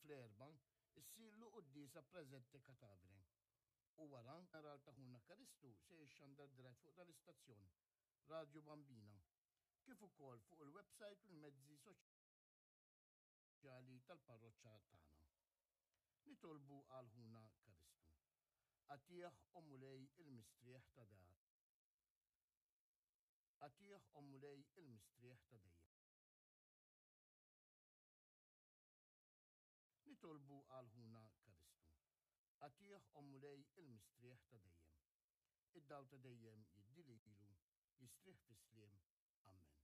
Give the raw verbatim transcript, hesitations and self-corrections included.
Fl-Erbgħa issirlu quddiesa presente cadavere u wara funeral ta' ħuna Karistu se jixxandar dirett fuq dal-istazzjon Radio Bambina, kif ukoll fuq il-website u l-mezzi soċjali tal-parroċċa tagħna. Nitolbu għal ħuna Karistu. Agħtih, o Mulej, il-mistrieħ ta' da. Agħtih, o Mulej, il-mistrieħ ta' dejjem. Nitolbu għal ħuna Karistu. Agħtih, o Mulej, il-mistrieħ ta' dejjem. Id-dawl ta' dejjem jiddi lilu, jistrieħ fis-sliem. Amen.